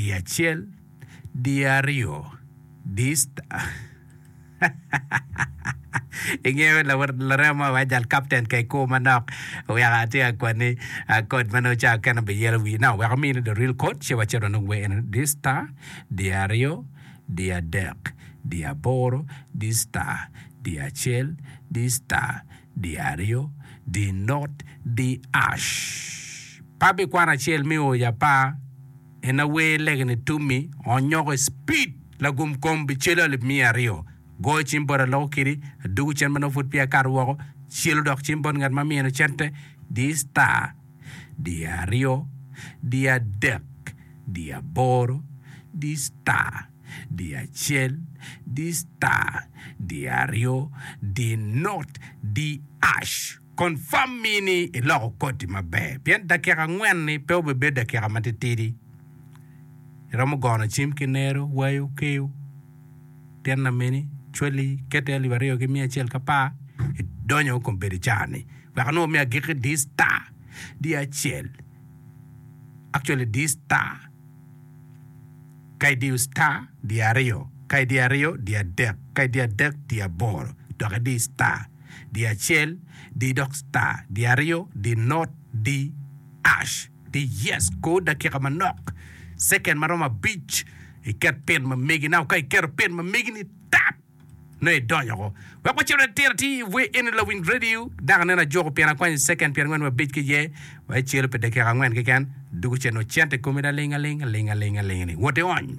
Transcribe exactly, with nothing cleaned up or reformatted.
Di acel, di aryo, di star. Ingeyo larema mo wai jal kapten ka ikur manok weko atye ka kwani kod ma nongo ca kene biyelo wii. Now wek amini the real code ci wacit wanong wer eni di star, di aryo, di adek, di aboro, di star, di acel, di star, di aryo, di not, di ash. Pe abikwano acel me o i apar. En awer lege-ni tummi, onyoko i speed lagum kom bicelo alip miya aryo. Goyo cim bot aloko kidi, adugo cen ma nongo pud peya akato woko, celo dok cim bot ngat ma mino cente, di star, di aryo, di adek, di aboro, di star, di acel, di star, di aryo, di not, di ash. Confirm mi ni iloko koti maber pien dakika angwen-ni pe obibedo dakika matitidi. Iromo gono cim ki nero, wayo, keyo, tyen lameni, cwali, kete alip aryo ki miya acel ki apar, idonyo kombeddi caa-ni. Wek anongo me agikki di star, di acel, actually di star, ka idiyo star, di aryo, ka idiyo aryo, di adek, ka idiyo adek, di aboro, dok idi star, di acel, di dok star, di aryo, di not, di ash. Di yes kor dakika manok, second ma romo abic, iket pin ma megi. Now ka iketo pin ma megi ni tap, nongo idonyo ko. Wek wacit atir atir i wer eni lawiny radio, dok aneno ajuko pien akwanyo second pyerangwen wa abic ki iye, wa icelo pi dakika angwen keken, dugo cen nongo cente i komi laling aling aling aling aling ni. Wot iony.